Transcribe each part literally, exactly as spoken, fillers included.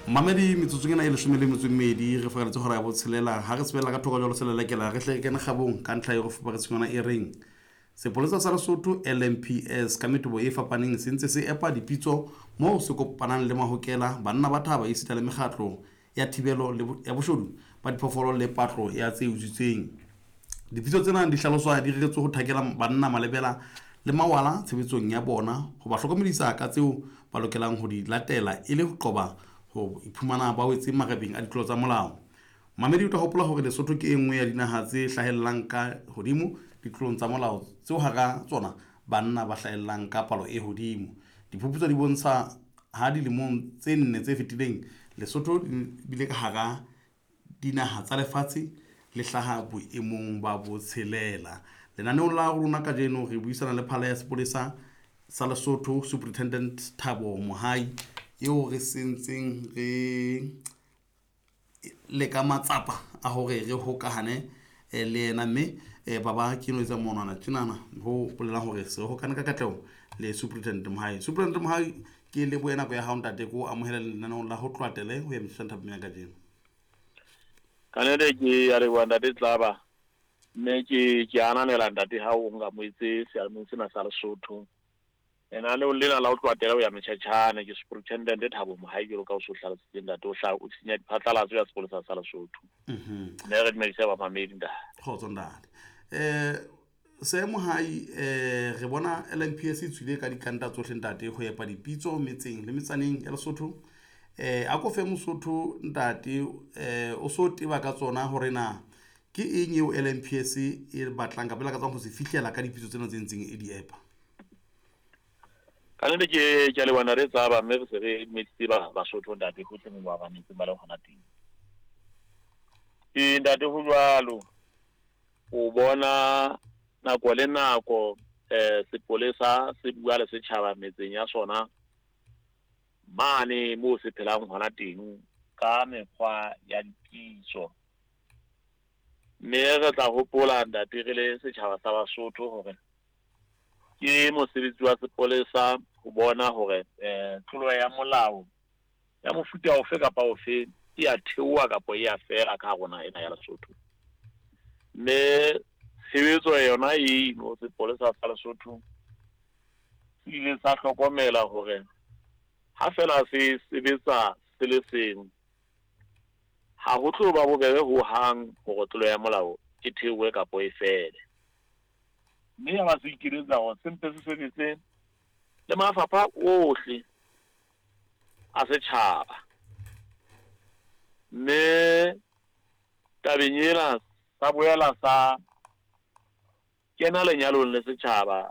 Mamedi, metsotsong ena e leshome le metso e mmedi re fakaletse hora ya botshelela. Ha re sebella ka thoko jwalo selelekela, re hle re kene kgabong ka ntlha e re fuparetseng yona e reng sepolesa sa Lesotho L M P S ka metobo e fapaneng se ntse se epa dipitso moo se kopanang le mahokela, banna ba thaba esita le mekgatlo ya thibelo le bo-, ya boshodu ba diphoofolo le patlo ya tse utswitsweng. Dipitso tsena di hlaloswa di reretswe ho thakela banna malebela le mawala tshebetsong ya bona, ho ba hlokomedisa ka tseo ba lokelang ho di latela e le ho qoba ho iphumana ba wetse marebeng a ditlolo tsa molao. Mamedi, o tla hopola hore Lesotho ke e nngwe ya dinaha tse hlahellang ka hodimo ditlolong tsa molao, tseo hara tsona banna ba hlahellang ka palo e hodimo. Diphuputso di bontsha ha dilemong tse nne tse fetileng Lesotho le bile ka hara dinaha tsa lefatshe le hlaha boemong ba botshelela. Lenaneong la rona kajeno re buisana le phala ya sepolesa sa Lesotho, Superintendent Thabo Mohai, eo re sentseng re leka matsapa a hore re hokahane, eh, le yena, mme, eh, baba ke no etsa monwana tjenana ho bolelang hore se re hokane ka katleho le Superintendent Mohai. Superintendent Mohai, ke lebohe nako ya hao ntate, ke o amohela lenaneong la ho tloha tele ho ya metjheng thapameng ya kajeno. Ka nnete ke a leboha ntate Tlaba, mme ke, ke ananela ntate ha o nkamohetse seyalemoyeng sena sa Lesotho. Lenaneong lena la ho tloha tele ho ya metjhetjhane, ke Superintendent Thabo Mohai jwalo ka o so hlalositse ntate, o hla o senya diphatlalatso ya sepolesa sa Lesotho. Mhm. Mme re dumedise bamamedi ntate. Kgotso ntate. Eh, Seemo Mohai, eh, re bona L M P S e tswile ka dikanta tsohle ntate ho epa dipitso metseng le metsaneng ya Lesotho. Eh, a ko fe Mosotho ntate, eh, o so teba ka tsona hore na ke eng eo L M P S e batlang kapa e lakatsang ho se fihlela ka dipitso tsena tse ntseng e di epa? Ka nnete ke, ke a leboha ntate Tsaba, mme re se re dumedisitse ba-, Basotho ntate hohle moo ba mametseng ba leng hona teng. Ee, ntate, ho jwalo. O bona nako le nako, eh, sepolesa se bua le setjhaba metseng ya sona mane moo se phelang hona teng ka mekgwa ya dipitso. Mme re tla hopola ntate re le setjhaba sa Basotho hore ke mosebetsi wa sepolesa ho bona hore, eh, tlolo ya molao ya mofuta ofe kapa ofe e a theoha kapa e a fela ka hara naha ena ya Lesotho. Mme tshebetso yona eno sepolesa sa Lesotho se ile sa hlokomela hore ha fela se sebetsa se le seng, ha ho tlo ba bobebe hohang hore tlolo ya molao e theohe kapa e fele. Mme ya ba se ikeletsa hore se mpe se sebetse le mafapha ohle a setjhaba. Mme tabeng ena sa boela sa kena lenyalong le setjhaba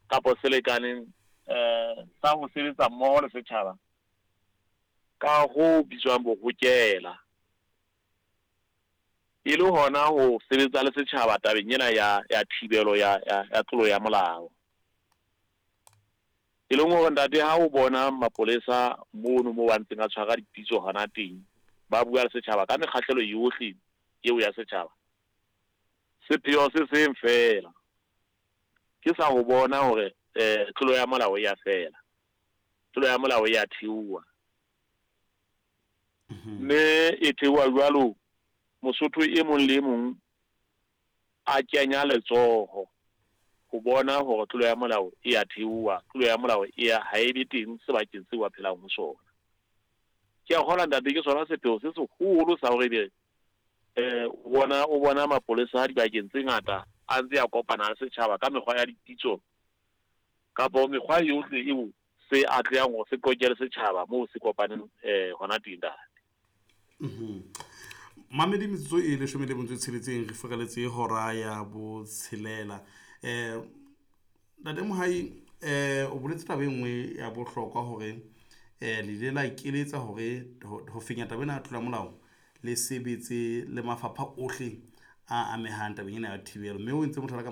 kapa selekaneng, eh, sa ho sebetsa mmoho le setjhaba ka ho bitswang bohokela, e le hona ho sebetsa le setjhaba tabeng ena ya, ya thibelo ya, ya, ya tlolo ya molao. E leng hore ntate ha o bona mapolesa mono moo ba ntseng a tshwara dipitso hona teng, ba bua le setjhaba ka mekgahlelo yohle eo ya setjhaba, sepheo se seng feela ke sa ho bona hore, eh, tlolo ya molao e ya fela, tlolo ya molao e ya theoha. Mhm. Mme e theoha jwalo, Mosotho e mong le e mong a kenya letsoho ho bona hore tlolo ya molao e ya theoha, tlolo ya molao e ya, ha e be teng sebakeng seo a phelang ho sona. Ke a kgolwa ntate ke sona sepheo se seholo sa hore ebe, eh, o bona, o bona mapolesa dibakeng tse ngata a ntse a kopana le setjhaba ka mekgwa ya dipitso kapa mekgwa yohle eo se atlehang hore se qoqele setjhaba moo se kopaneng, eh, hona teng ntate. Mhm. Mamedi, metsotso e leshome le metso e tsheletseng re fereletse hora ya botshelela. Eh, Ntate Mohai, eh, o boletse taba e nngwe ya bohlokwa hore, eh, le ile la ikeletsa hore ho, ho fenya taba ena ya tlolo ya molao le sebetse le mafapha ohle a amehang tabeng ena ya thibelo, mme o entse mohlala ka